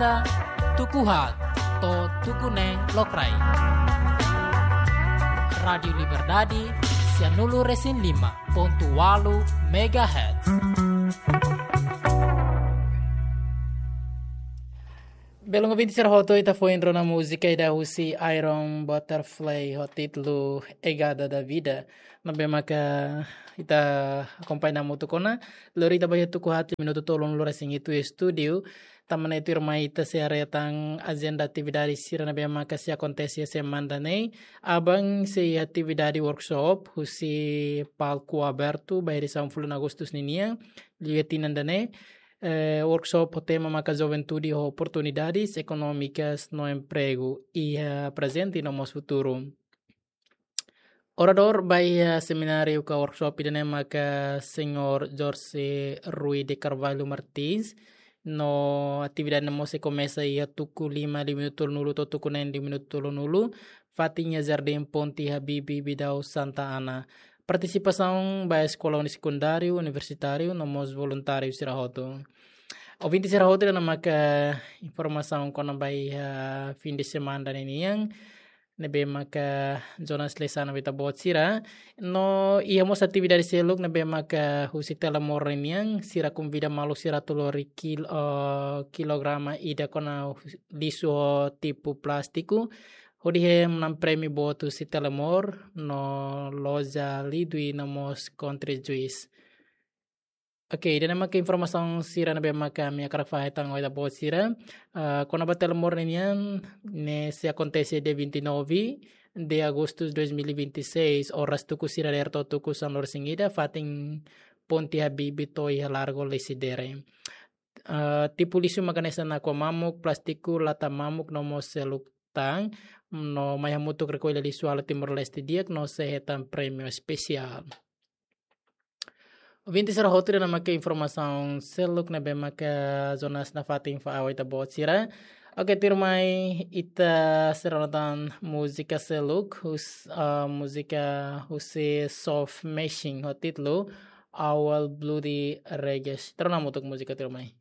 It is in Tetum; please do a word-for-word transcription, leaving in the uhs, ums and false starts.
Ita tuku haat to'o tuku neen lokraik. Rádiu Liberdade, sianulu resin lima pontu ualu megahertz. Belun ouvinte sira hotu, ita foin rona múzika ida husi Iron Butterfly ho títulu Egada da Vida. Ne'ebé maka ita akompaña hamutuk ona, lori ita ba iha tuku haat, minutu tolunulu resin hitu iha estúdiu. Tanba ne'e tuirmai ita sei haree tan ajenda atividade sira ne'ebé maka sei akontese iha semana ida-ne'e. Aban sei atividade workshop husi Palco Aberto ba edisaun fulan Agostu ninian, liu iha tinan ida-ne'e. Eh, workshop ho tema maka Juventude ho Oportunidades Económicas no Emprego iha Prezente no mós Futuru. Oradór ba iha semináriu ka workshop ida-ne'e maka Señór Jorge Rui de Carvalho Martins. No atividade ne'e mós sei komesa iha tuku lima liu minutu tolunulu to'o tuku neen liu minutu tolunulu, fatin iha Jardín Ponte Habibie, Bidau, Santa Ana. Partisipasaun ba eskola uni-, sekundáriu, universitáriu no mós voluntáriu sira hotu. Ouvinte sira hotu, ida-ne'e maka informasaun kona-ba iha fin de semana ida-ne'e nian, ne'ebé maka Jonas Lessana ba ita-boot sira. No iha mós atividade seluk ne'ebé maka husi Telemor nian, sira konvida maluk sira atu lori kil-, eh, kilograma ida kona lixu ho tipu plástiku, hodi hetan prémiu boot husi Telemor no loja Lidwi no mós Country Juice. Oke, ida-ne'e maka informasaun sira ne'ebé maka ami hakarak fahe tan ho ita-boot sira. Ah, kona-ba Telemor nian, ne'e sei akontese dia vinte e nove de agosto de dois mil e vinte e seis, oras tuku sira dadeer to'o tuku sanulu resin ida, fatin Ponte Habibie to'o iha Largo Lecidere. Ah, tipu lixu maka hanesan nakua mamuk, plástiku, lata mamuk no mós seluk tan, no mai hamutuk rekolla lixu halo Timor-Leste di'ak no sei hetan prémiu espesiál. Ouvinte sira hotu, ida-ne'e maka informasaun seluk ne'ebé maka Jonas nafatin fó ba ita-boot sira. Oke, tuirmai ita sei rona tan múzika seluk, hus-, ah, múzika husi Soft Machine ho títulu Our Bloody Reggae. Ita rona hamutuk múzika tuirmai.